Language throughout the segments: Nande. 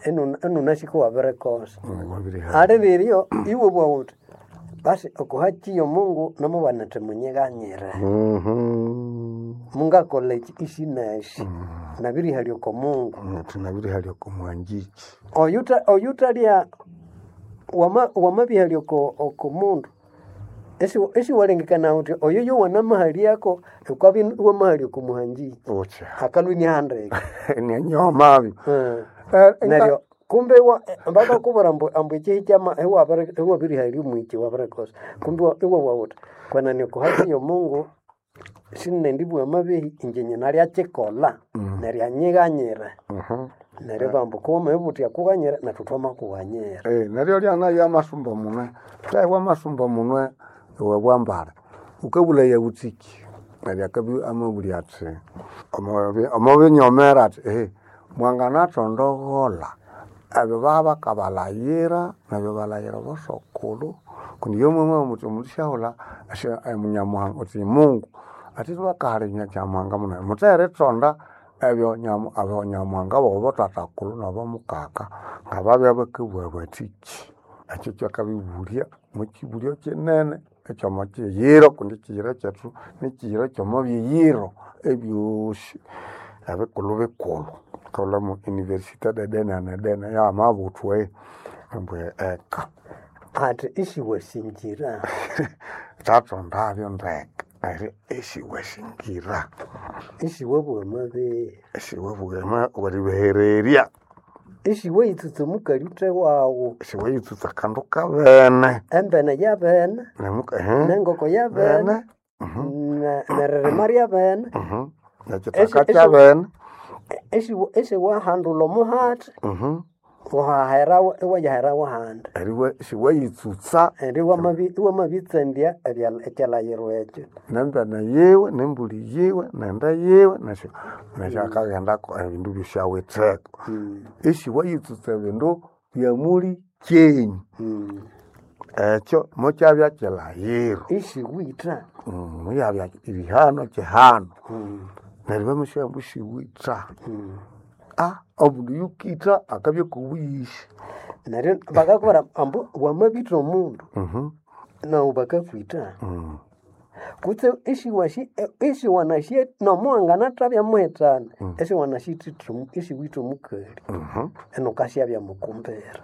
Enunasiko wabirikosa. Wabiriha. Ali riryo iwe bwa uthi basi okuhaki y'omungu namubana athi munyiganyire. Mungakolha eki isi nesi nabirihalya oko Mungu. Tunabirihalya oko muhangiki. Oyuthalya wamabihalya oko mundu isiwalengekana wuthi oyo yowanamahalyako wukabya iwamahalya oko muhangiki. Utya. Akalhwa iniahandika. Nianyomabyo. Neryo kumbe bakakubwira ambu ekihi kyama iwabirihalya omwiki wabirikosa. Kumbe iwabugha wuthi kwenene oko haki y'omungu sinendibugha amabehi inje nyinalyakikolha neryo anyighanyire. Neryo ibabugha ambu wamabugha wuthi akughanyire nethu thwamakughanyira. Neryo lyana amasumba munwe, thahibwa amasumba munwe iwe bwambara. Wukabulaya wuthiki neryo akabya amabulya athi omobinyomera athi mwanganathondogholha ebyo babakabalayira nebyo balayira abosokulhu kundi iyo mwamabugha muthi omundu isyaghulha Nyamuhanga wuthi Mungu athi ibakahala Nyamuhanga munene mutherithonda ebyo Nyamuhanga wobothathakulhu nabomukaka ngababya bakabugha bathiki. Ekyo kyakabibulya mukyibulyo kinene ekyomo kiyiro kundi ekiyiro kyethu nikiyiro kyomo biyiro ebyosi ebikulhu bikulhu. Thukaghulhamu université dedene na dene yamabuthwa ambu eka. Athi isiwasingira. Thathondabyo ndeke neryo isiwasingira. Isiwabugha amabehi. Isiwabugha weribahererya. Isiwayitsutsa omukali uthe wawu. Isiwayitsutsa akandu kabene. Embene yabene, nengoko yabene, neririma ryabene. Nekyithaka kyabene. Isiwahandulha omuhati, waherawo iwayaherawo ahandi. Neryo isiwayitsutsa. Neryo iwamabitsandya ekyalhaghiro ekyo. Nembene yiwe, nembuli yiwe, nende yiwe nesyakaghendako ebindu byosi awitheko. Isiwayitsutsa ebindu byamuli kyenyu. Ekyo mukyabya kyilhaghiro. Isiwitha. Muyabya erihano kihano. Neryo bamasya ambu isiwitha. Omundu oyukitha akabya kobuyisi. Neryo bakakubwira ambu wamabitha omundu, nawu bakakwitha. Kutse isiwanasi nomuwanganathabya muhithana, isiwitha omukali, inukasyabya mukumbira.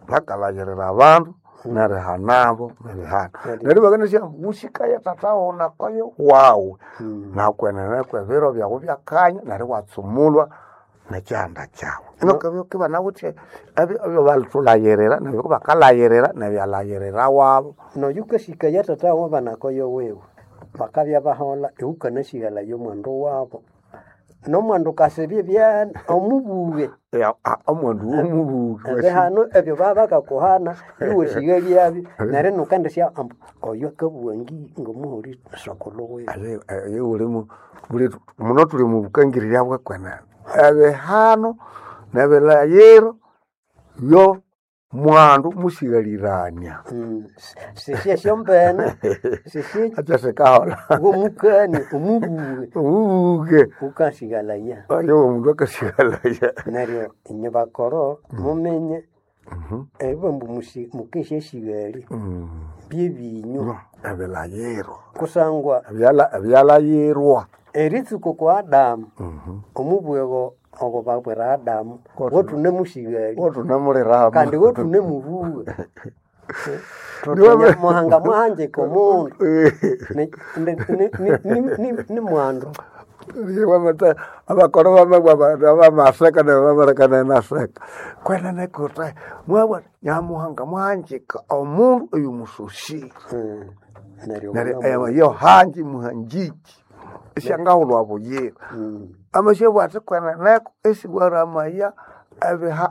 Bakalhaghirira abandu nerihanabo nerihana. Neryo ibakanasya ambu wusikaya thatha wawu wawu nakwenene kwebiro byawu byakanya neryo iwatsumulwa nekyihanda kyawu. Inukabya banawithe ebyabalithulhaghirira neryo bakalhaghirira nebyalhaghirira wabo. Noyukasikaya thatha wawu banakoyo wiwe, bakabya baholha iwukanasighalaya omwandu wabo. Nomwandu kasibya ibyene omubuge. Omwandu womubuge. Ebihano ebyo babakakuhana iwasighalyabyo neryo inukendisya ambu oyo akabugha ngomuholi sokulhu wiwe. Muno thuli omwa bukangirirya bwekwenene. Ebihano nebilhaghiro byo mwandu musighalirania. Sisye esyombene, sisye Ekyasikaholha. womukania omubuge. Omubuge. Wukasighalaya. Oyo omundu akasighalaya. Neryo inye bakoro muminye eribugha ambu mukesyasighalya byebinywa. Ebilhaghiro. Kusangwa Ebyalhaghirwa. eritsuka oko Adamu, omubwego ogo babwira Adamu, gothunemusighalya. Gothunemuliramu. Kandi gothunemubugha. Nyamuhanga mwahangika omundu ni mwandu. Abakoro bamabugha bamaseka neryo bamaleka inaseka. Kwenene kuthi mwabugha Nyamuhanga mwahangika omundu oyumusosie. Neryo Neryo eyo hangi muhangiki isyangahulhwa buyira. Amasyabugha athi kweneneko isiwaramaya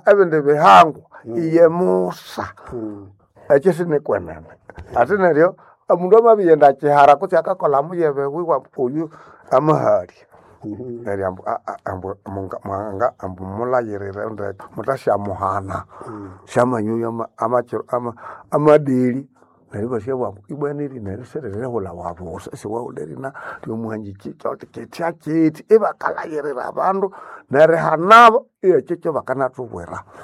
ebindi bihangwa iye Musa. Ekyo sinikwenene. Athi neryo omundu amabiyenda kyihara kutse akakolha muyebe wiwe oyu amahalya. Neryo ambu Muhanga ambu mulhaghirire ndeke muthasyamuhana. Syamanya amadeli neryo ibasyabugha ambu ibwa nerina eri siririhulhawa busa isiwahulha erina ryomuhangiki kithya kithi ibakalhaghirira abandu nerihanabo ekyo kyabakanathubwira.